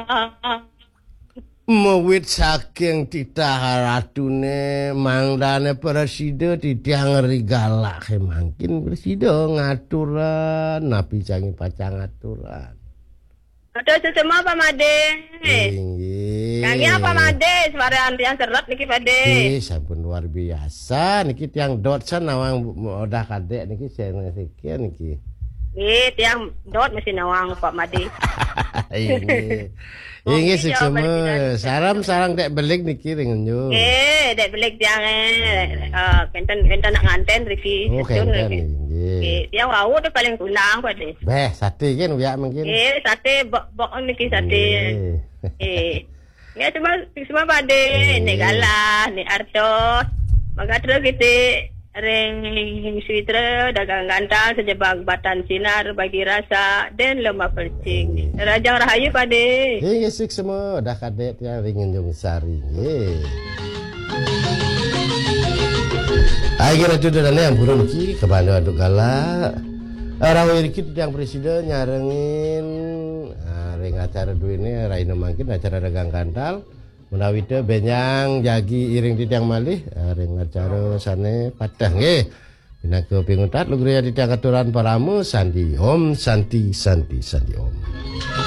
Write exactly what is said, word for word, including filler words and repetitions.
Ah, ah. Mawit saking titah ratune, mangdane prasida titiang ri galake mangkin prasida ngaturan, napi sami pacang ngaturan. Aduh, sesema Pak Made. Inggih. Kami apa Made? Suara antrian seret niki Pade. Nggih, sampun luar biasa. Niki tiang dot san nawang Odah Kadek niki sing sekian niki. Nggih, tiang dot mesti nawang Pak Made. Inggih. Inggih, suksma. Salam sareng Dek Belik niki ring Nyu. Nggih, Dek Belik tiang eh. Eh, kenten kenten nak nganten riki. Oh, kenten nggih. Nggih, tiang wau tu paling kunang Pade. Beh, sate kan uyak mungkin. Nggih, sate bok-bok niki sate. Nggih. Nggih. Ya semua semua Pade, Nek Galah, Nek Arto. Maka terus kita ring Suitra dagang gantal sejebak batan sinar bagi rasa dan lemah percing. Rajang Rahayu Pade. Inggih, suksma Odah Kadek tiang ring Tanjung Sari. Nggih. Ai kira tu dah yang burung ki kebanda aduk galak. Rawi riki tiang presida nyarengin ah, ring acara duene raina mangkin acara dagang gantal. Menawi te benjang jagi iring titiang malih ah, ring acara sane pateh nggih. Pinaka pinguntat lugraya titiang aturan parama santi om santi santi santi om.